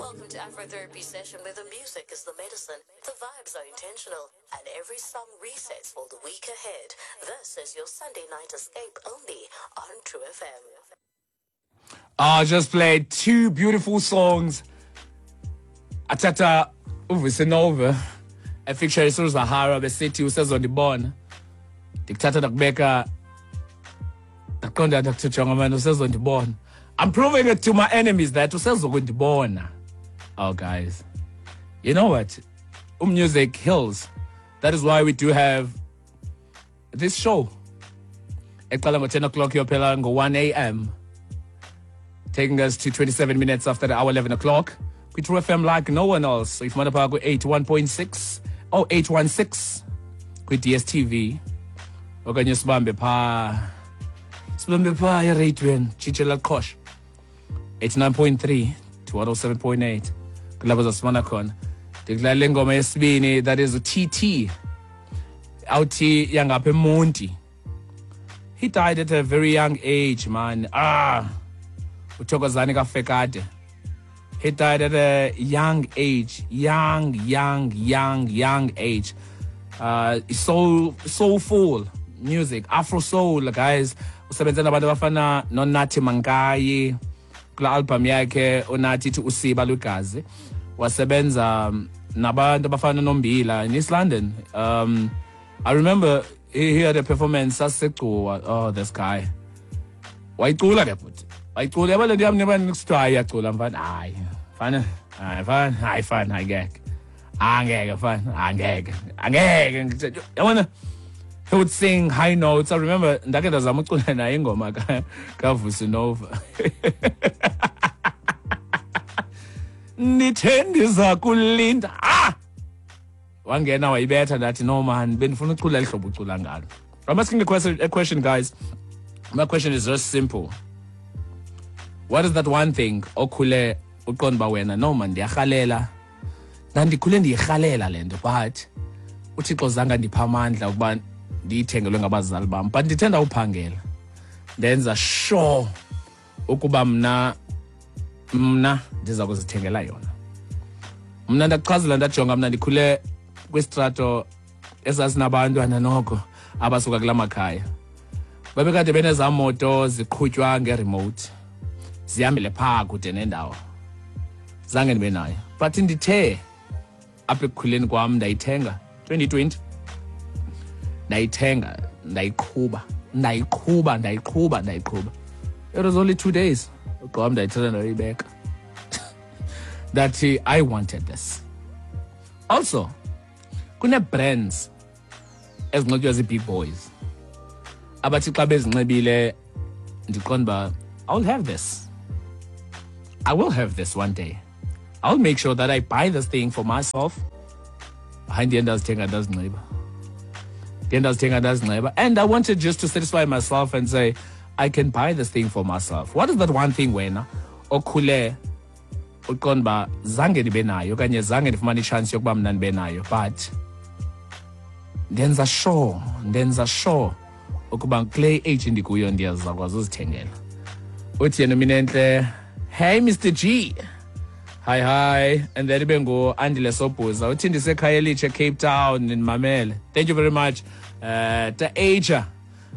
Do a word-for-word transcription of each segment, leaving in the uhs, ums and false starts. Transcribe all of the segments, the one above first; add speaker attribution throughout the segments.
Speaker 1: Welcome to Afrotherapy Session, where the music is the medicine, the vibes are intentional, and every song resets for the week ahead. This is your Sunday night escape only on True F M.
Speaker 2: I just played two beautiful songs. Atata uVusi Nova efeaturing Zahara besithi usezondibona. Ndikuthatha ndakubeka ndaqonda ndakuthi jonga man usezondibona. I'm proving it to my enemies that usezokundibona. Oh guys, you know what? Music heals. That is why we do have this show. Eqala ngo ten o'clock yophela ngo one A M. Taking us to twenty-seven minutes after the hour eleven o'clock. We True F M like no one else. So if you eight one point six or eight one six with D S T V. Okanye sibambe pha. Sibambe pha eradweni Chichela Qosh. eighty-nine point three to one oh seven point eight. Kulapho zasifumana khona. Ndikudlala ingoma yesibini, that is U T T. Awuthi yangapha eMonti. He died at a very young age, man. Ah. uThokozani kaFekade. He died at a young age, young, young, young, young age. Uh, soul, soulful music, Afro soul, guys. Usebenze nabantu abafana noNathi Mankayi kula album yakhe uNathi ithi Usiba Lwegazi. Wasebenza nabantu abafana noMbila in East London. Um, I remember he had a performance saseGcuwa. Oh, this guy. Wayicula ke bhuti. Wayicula yabo le nto yam niba kusithiwa hayi iyacula mfana. Hayi, mfana, hayi mfana, hayi mfana, angeke. Angeke mfana, angeke. Angeke. Yabona, he would sing high notes. I remember ndake ndazama ucula naye ingoma kaVusi Nova. Ndithe ndiza kulinda. Ah! Wangena wayibetha ndathi no man, bendifuna ucula lihlobo ucula ngalo. I'm asking a question, a question guys. My question is just simple. What is that one thing okhule uqonda uba wena no man ndiyarhalela. Ndandikhule ndiyirhalela le nto, but uThixo zange andipha amandla ukuba ndiyithengelwe ngabazali bam, but ndithe ndawuphangela ndenza sure ukuba mna mna ndiza kuzithengela yona. Mna ndakuchazela ndajonga mna ndikhule kwistrato esasinabantwana noko abasuka kula makhaya. Babekade benezaa moto ziqhutywa ngeremote zihambele phaa kude nendawo. Zange ndibe nayo, but ndithe apha ekukhuleni kwam ndayithenga twenty twenty. Ndayithenga, ndayiqhuba, ndayiqhuba, ndayiqhuba, ndayiqhuba. It was only two days. Ugqoba ndayithatha ndayibeka. That I wanted this. Also, kune-brands ezinxitywa zii-big boys. Abathi xa bezinxibile ndiqonda uba I'll have this. I will have this one day. I'll make sure that I buy this thing for myself. Hayi, ndiye ndazithenga ndazinxiba. Ndiye ndazithenga ndazinxiba. And I wanted just to satisfy myself and say, I can buy this thing for myself. What is that one thing wena okhule uqonda uba zange ndibe nayo okanye zange ndifumane ichance yokuba mna ndibe nayo, but ndenza sure, ndenza sure ukuba kule age ndikuyo ndiyazakwazi uzithengela. Uthi yena Minentle, hey Mister G. Hi hi. And then ibe ngu Andile Sobhuza. Uthi ndisekhaya elitsha Cape Town ndimamele. Thank you very much. Uh, Ta Asia.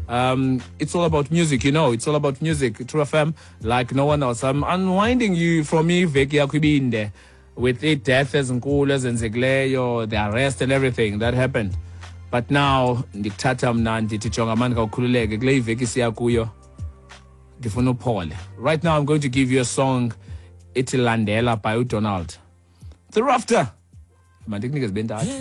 Speaker 2: Um, it's all about music, you know. It's all about music. True F M, like no one else. I'm unwinding you from iveki yakho ibinde with the death ezinkulu ezenzekileyo, the arrest and everything that happened. But now ndikuthatha mna ndithi jonga mani khawukhululeke kule iveki siya kuyo. Ndifuna uphole. Right now I'm going to give you a song ithi Landela by uDonald. Thereafter, mandikunike zibe ntathu.